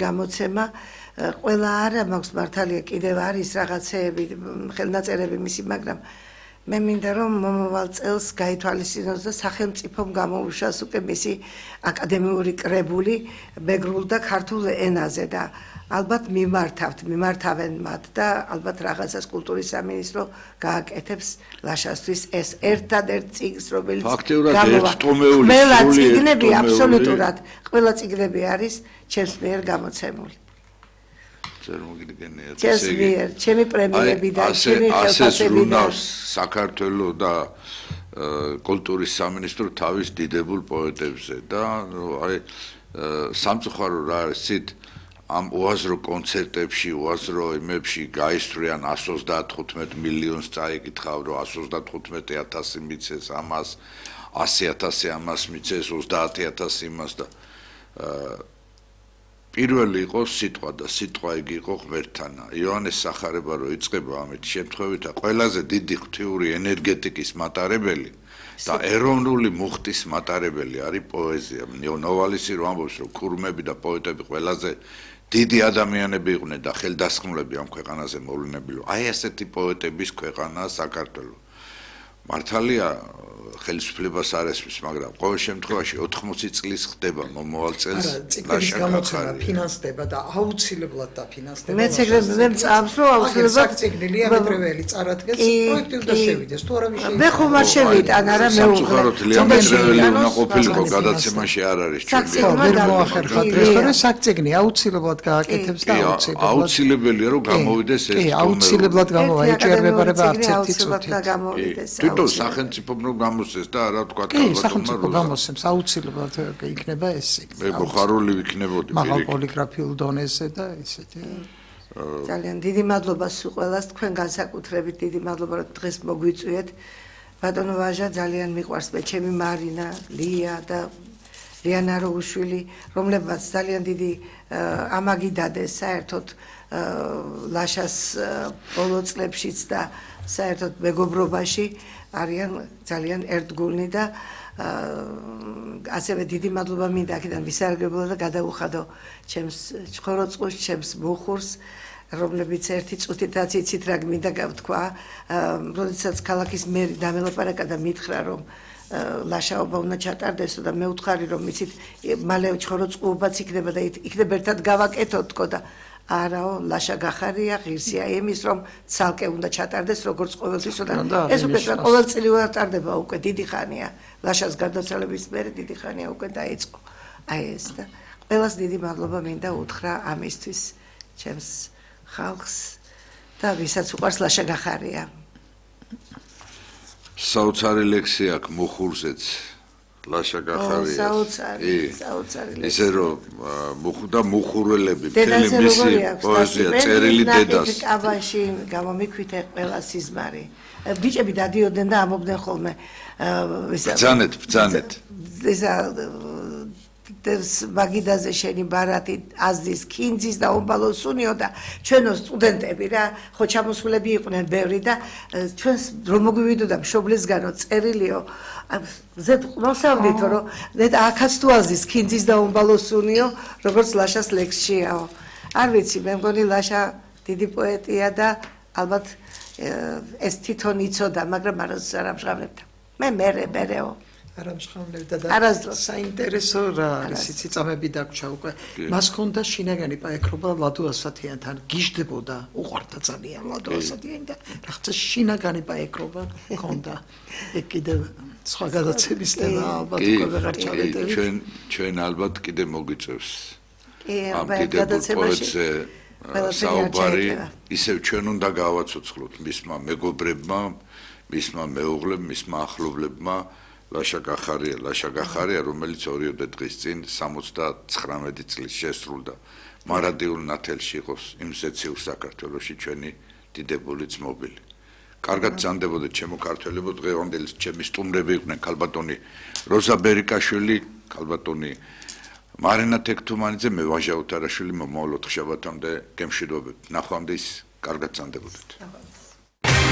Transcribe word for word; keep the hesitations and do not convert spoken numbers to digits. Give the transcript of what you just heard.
გამოცემა ყველა არა მაქვს მართალია კიდევ არის რაღაცეები ხელნაწერები მისი მაგრამ მე მინდა რომ მომავალ წელს გაითვალისწინოს და სახელმწიფომ გამოუშვას უკვე მისი აკადემიური კრებული მეგრულ და ქართულ ენაზე და ალბათ მიმართავთ მიმართავენ მათ და ალბათ რაღაცას კულტურის სამინისტრო გააკეთებს ლაშასთვის ეს ერთადერთ წიგნს რომელიც ფაქტიურად ერთტომეული ყველა წიგნები აბსოლუტურად ყველა წიგნები არის ჩემს მიერ გამოცემული ჩემს მიერ ჩემი პრემიები და ჩემი ხელფასები და საქართველოს და კულტურის სამინისტრო თავის დიდებულ პოეტებზე და აი სამწუხარო რა არის ცით ამ უაზრო კონცერტებში, უაზრო იმებში გაისვრიან εκατს ოცდათხუთმეტ მილიონს წაიკითხავ, რომ εκατს ოცდათხუთმეტ ათასი მიცეს ამას, ასი ათასი ამას მიცეს, ოცდაათი ათასი იმას და პირველი იყო სიტყვა და სიტყვა იგი იყო ღმერთთანა. იოანეს სახარება რო იწყება ამით შემთხვევით და ყველაზე დიდი ღვთიური ენერგეტიკის მატარებელი და ეროვნული მუხტის მატარებელი არის პოეზია. ნოვალისი რო ამბობს რომ ქურმები და პოეტები ყველაზე დიდი ადამიანები იყვნენ და ხელდასხმულები ამ ქვეყანაზე მოვლენები. აი ასეთი პოეტების ქვეყანაა საქართველო. მართალია ხელისუფლებას არ ესმის, მაგრამ ყოველ შემთხვევაში ოთხმოცი წლის ხდება მომავალ წელს ლაშა გამოცემა ფინანსდება და აუცილებლად დაფინანსდება. მეც ეგრე მე მწამს რომ აუცილებლად წიგნილია მეტრეველი წარადგენს პროექტი და შევიდეს. თუ არა ვიშევიდა. მე ხომ არ შევიტან არა მე უხაროთ მეტრეველი უნდა ყოფილიყო გადაცემაში არ არის ჩვენი. ვერ მოახერხათ ეს თორე საქციგნი აუცილებლად გააკეთებს და აუცილებლად აუცილებელია რომ გამოვიდეს ეს. კი, აუცილებლად გამოიჭერება არც ერთი წუთი. თვითონ სახელმწიფომ რომ გამოსცეს და არა თქვა კი, სახელმწიფო გამოსცემს აუცილებლად იქნება ეს სიგნალი. მე გხარული ვიქნებოდი პირიქით. მაღალ პოლიგრაფიულ დონეზე და ისეთი. ძალიან დიდი მადლობა სულ ყველას თქვენ განსაკუთრებით დიდი მადლობა რომ დღეს მოგვიწვიეთ. ბატონო ვაჟა ძალიან მიყვარს მე ჩემი მარინა, ლია და ლიანა როუშვილი, რომლებმაც ძალიან დიდი ამაგი დადეს საერთოდ ლაშას ბოლო წლებშიც და საერთოდ მეგობრობაში არიან ძალიან ერთგულნი და ასევე დიდი მადლობა მინდა აქედან ვისარგებლო და გადავუხადო ჩემს ჩხოროწყუს, ჩემს მუხურს, რომლებიც ერთი წუთითაც იცით რა მინდა გავთქვა, როდესაც ქალაქის მერი დამელაპარაკა და მითხრა რომ ლაშაობა უნდა ჩატარდეს და მე ვთხარი რომ იცით მალე ჩხოროწყუობაც იქნება და იქნება ერთად გავაკეთოთ თქო და არაო ლაშა გახარია ღირსია იმის რომ ცალკე უნდა ჩატარდეს როგორც ყოველთვის და ეს უკვე ყოველწლიურად ტარდება უკვე დიდი ხანია ლაშას გარდაცვალების მერე დიდი ხანია უკვე დაიწყო აი ეს და ყველას დიდი მადლობა მინდა უთხრა ამისთვის ჩემს ხალხს და ვისაც უყვარს ლაშა გახარია საოცარი ლექსი აქვს მუხურზეც ლაშა გახარია. საოცარი, საოცარი ლექსი. ისე რომ მუხდა მუხურველები, მთელი მისი პოეზია წერილი დედას. კაბაში გამომიქვით ყველა სიზმარი. ბიჭები დადიოდნენ და ამობდნენ ხოლმე ბძანეთ, ბძანეთ. ესა მაგიდაზე შენი ბარათი აზდის კინძის და ომბალო სუნიო და ჩვენო სტუდენტები რა ხო ჩამოსულები იყვნენ ბევრი და ჩვენს რომ მოგვივიდოდა მშობლისგანო წერილიო ზედ მოსავდითო რომ ზედ აქაც თუ აზდის კინძის და ომბალო სუნიო როგორც ლაშას ლექსშიაო არ ვიცი მე მგონი ლაშა დიდი პოეტია და ალბათ ეს თვითონ იცოდა მაგრამ არასდროს არ ამჟღავნებდა მე მერე მერეო არ ამჟღავნებდა და საინტერესო რა არის იცი წამები დაგვრჩა უკვე მას ჰქონდა შინაგანი პაექრობა ლადო ასათიანთან გიждდებოდა უყვარდა ძალიან ლადო ასათიანი და რაღაცა შინაგანი პაექრობა ჰქონდა ეგ კიდევ სხვა გადაცემის თემა ალბათ უკვე ვეღარ ჩავეტევით ჩვენ ჩვენ ალბათ კიდე მოგვიწევს ამ დიდებულ პოეტზე საუბარი ისევ ჩვენ უნდა გავაცოცხლოთ მისმა მეგობრებმა მისმა მეუღლებმა მისმა ახლობლებმა ლაშა გახარია, ლაშა გახარია, რომელიც ორიოდე დღის წინ სამოცდაცხრამეტი წლის შესრულდა. მარადიულ ნათელში იყოს იმ ზეციურ საქართველოში ჩვენი დიდებული ძმობილი. კარგად ძანდებოდეთ ჩემო ქართველებო, დღევანდელი ჩემი სტუმრები იყვნენ ქალბატონი როზა ბერიკაშვილი, ქალბატონი მარინა თექთუმანიძე, მე ვაჟა უთარაშვილი, მომავალ ოთხშაბათამდე გემშვიდობებთ. ნახვამდის, კარგად ძანდებოდეთ.